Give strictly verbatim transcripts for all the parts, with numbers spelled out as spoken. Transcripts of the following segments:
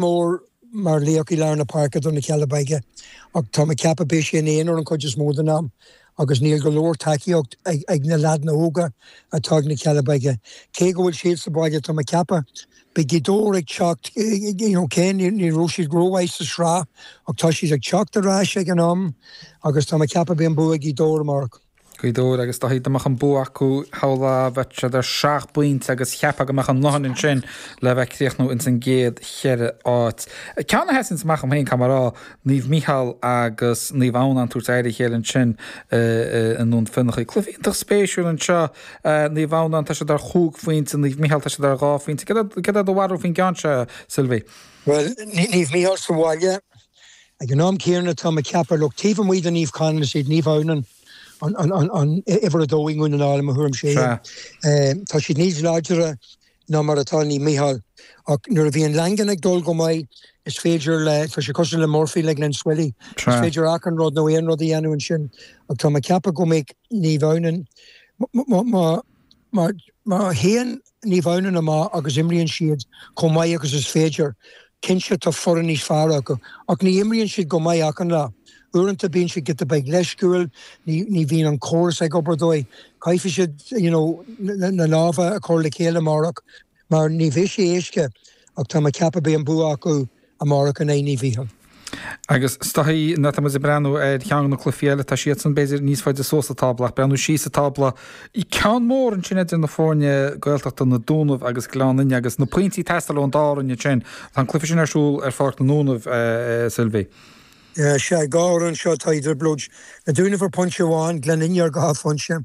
Mór mar laoch i lár na páirce do na Cealla Beaga ach tá mé ag ceapadh beidh sé ina aonar an chuid is mó den am agus níl go leor tacaíocht ag ag na leaideanna óga atá ag na Cealla Beaga. Cé go bhfuil siad sa bhaile tá mé ag ceapadh beidh Gaoth Dobhair ag teacht you know cé ní ní raibh siad rómhaith sa sraith ach tá siad ag teacht ar ais ag an am agus tá mé ag ceapadh beidh an bua ag Gaoth Dobhair amárach. Gaoth Dobhair agus dá mbeadh an bua acu shamhlófá bheadh siad ar seacht bpointe agus cheapfá go mbeadh a ndóthain ansin le bheith críochnú ins an gcéad cheithre áit. Ceann a sheasann amach dom féin caithfidh mé a rá, Naomh Mícheál agus Naomh Adhamhnáin ag tabhairt aghaidh ar a chéile ansin i nDún Fionnachaidh. Cluiche iontach spéisiúil anseo, Naomh Adhamhnáin tá siad ar chúig phointe, Naomh Mícheál tá siad ar dhá phointe. Cad é do bharúil faoin gceann seo, Sylvie? Bhuel, Naomh Mícheál sa bhaile ag an am céanna tá mé ag ceapadh look taobh amuigh de Naomh Conaill is iad Naomh Adhamhnáin an an an an uimhir a dó i nDún na nGall i mo thuairimse. Tá siad níos láidre ná mar atá Naomh Mícheál ach nuair a bhíonn Langan ag dul go maith is féidir le tá sé cosúil le Murphy le Glenswilly is féidir achan rud nó aon rud a dhéanamh ansin ach tá mé ag ceapadh go mbeidh Naomh Adhamhnáin má má má théann Naomh Adhamhnáin amach agus imríonn siad chomh maith agus is féidir cinnte tá foireann níos fearr acu ach ní imríonn siad go maith achan lá. Uaireanta bíonn siad giota beag leisciúil, ní ní bhíonn an córas ag obair dóibh. Caithfidh siad you know, na, na lámha a chur le chéile amárach mar ní bheidh sé éasca ach tá mé ag ceapadh beidh an bua acu amárach in aghaidh Naomh Mícheál. Agus is dóigh nuair atá muid ag breathnú ar cheann de na cluichí eile tá siadsan b'fhéidir níos faide suas sa tábla ach breathnú síos sa tábla ceann mór ansin idir na foirne Gaeltachta na Dúnaibh agus Gleann Fhinne agus na pointí ag teastáil ón dá fhoireann ansin. Tá an cluiche sin ar siúl ar Pháirc na nDúnaibh Sylvie. Sea, dhá fhoireann anseo atá i dtrioblóid. Na Dúnaibh ar phointe amháin, Gleann Fhinne ar dhá phointe.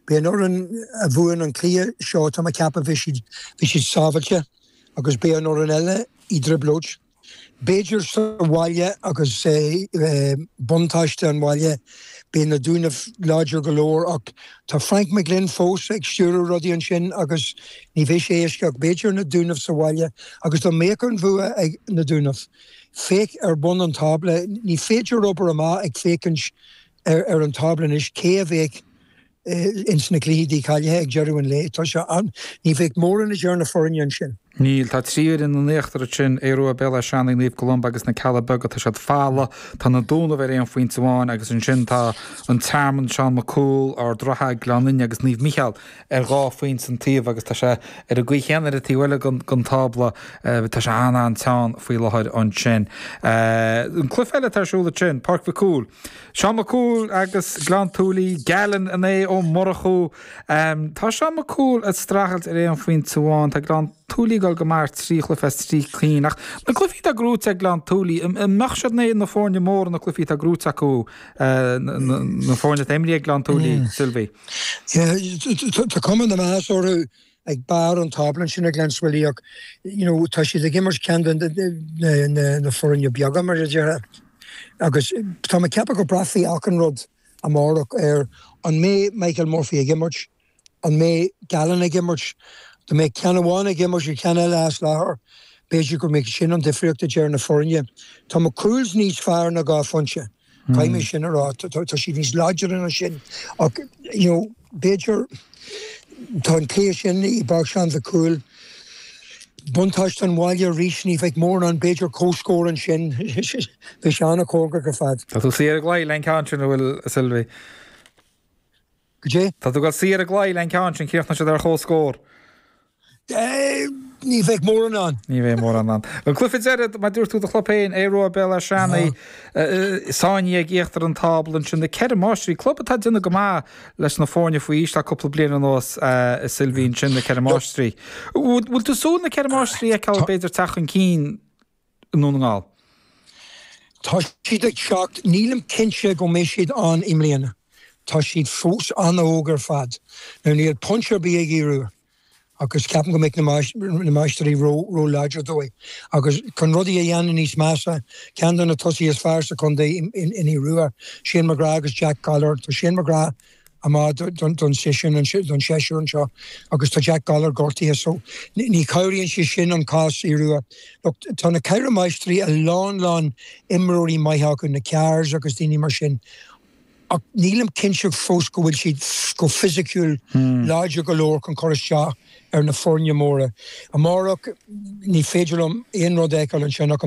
Beidh an fhoireann a bhuann an cluiche seo tá mé ag ceapadh bhí siad bhí siad sábháilte agus beidh an fhoireann eile i dtrioblóid. B'fhéidir sa bhaile agus buntáiste an bhaile beidh na Dúnaibh láidir go leor ach tá Frank McGlynn fós ag stiúradh rudaí ansin agus ní bheidh sé éasca ach b'fhéidir na Dúnaibh sa bhaile agus dá mbeadh an bhua ag na Dúnaibh. Féach ar bun an tábla, ní féidir obair amach ag féachaint ar, ar an tábla anois cé a bheadh ins na cluichí dícháilithe ag deireadh an lae. Tá sé an ní bheadh mórán idir na foirne ansin. Níl, tá trí fhoireann in íochtar ansin, Aodh Rua, Béal Átha Seanaidh, Naomh Columba agus na Cealla Beaga, tá siad folamh, tá na Dúnaibh ar aon phointe amháin agus ansin tá an Tearmann, Seán Mac Cumhaill, Ard Ratha, Gleann Fhinne agus Naomh Mícheál ar dhá phointe an taobh agus tá sé ar an gcaoi chéanna ar an taobh eile den tábla, tá sé an-an-teann faoi láthair ansin. An cluiche eile atá ar siúl ansin, Páirc Mhic Cumhaill. Seán Mac Cumhaill agus Gleann tSúilí, Gallen in aghaidh Ó Murchú. Tá Seán Mac Cumhaill ag streachailt ar aon phointe amháin. Tá Gleann tSúilí ag dul go maith ar trí chluiche as trí cinn. Ach na cluichí atá gnóite ag Gleann tSúilí, an mbeadh siad in aghaidh na foirne móra na cluichí atá gnóite acu, na foirne atá imrithe ag Gleann tSúilí, Sylvie? Tá cuma na meas orthu ag barr an tábla ansin ag Glenswilly ach you know tá siad ag imirt ceann de na na foirne beaga mar a déarfá agus tá mé ag ceapadh go braithfidh achan rud amárach ar an mbeidh Michael Murphy ag imirt, an mbeidh Gallen ag imirt, dá mbeidh ceann amháin ag imirt agus ceann eile as láthair, b'fhéidir go mbeidh sin an difríocht idir na foirne. Tá McCool's níos fearr ná dhá phointe. Caithfidh mé sin a rá, tá siad níos láidre ná sin ach you know b'fhéidir tá an cluiche sin i bPáirc Seán Mhic Cumhaill, buntáiste an bhaile arís, ní bheidh mórán b'fhéidir comhscór ansin, bheidh sé an-chóngarach ar fad. Tá tú saor ar an gclaí le an ceann sin, an bhfuil, a Sylvie? Goidé? Tá tú ag dul saor ar an gclaí le an ceann sin, críochnóidh siad ar chomhscór. Ní bheidh mórán ann. Ní bheidh mórán ann. An cluiche deiridh, mar dúirt tú do chlub féin, Aodh Rua Béal Átha Seanaidh, sáinnithe ag íochtar an tábla ansin, na Ceithre Máistrí, club atá ag déanamh go maith leis na foirne faoi aois le cúpla bliain anuas, a Sylvie, ansin, na Ceithre Máistrí. Bhfuil tú ag súil na Ceithre Máistrí a fheiceáil b'fhéidir teacht chun cinn i nDún na nGall? Tá siad ag teacht, nílim cinnte go mbeidh siad ann i mbliana. Tá siad fós an-óg ar fad. Now níl pointe ar bith ag Aodh Rua agus ceapaim go mbeidh na Máistrí ró-láidir dóibh. Agus chun rudaí a dhéanamh níos measa, ceann de na tosaithe is fearr sa chontae in Aodh Rua, Shane McGrath agus Jack Gowler. Tá Shane McGrath amach don séasúr don séasúr anseo agus tá Jack Gowler gortaithe so ní chabhraíonn sé sin an cás Aodh Rua. Look, tá na Ceithre Máistrí a lán lán imreoirí maithe acu, na Carrs agus daoine mar sin. Ach nílim cinnte fós go bhfuil siad go fisiciúil hmm. láidir go leor chun cur isteach ar na foirne móra. Amárach ní féidir liom aon rud a fheiceáil ansin.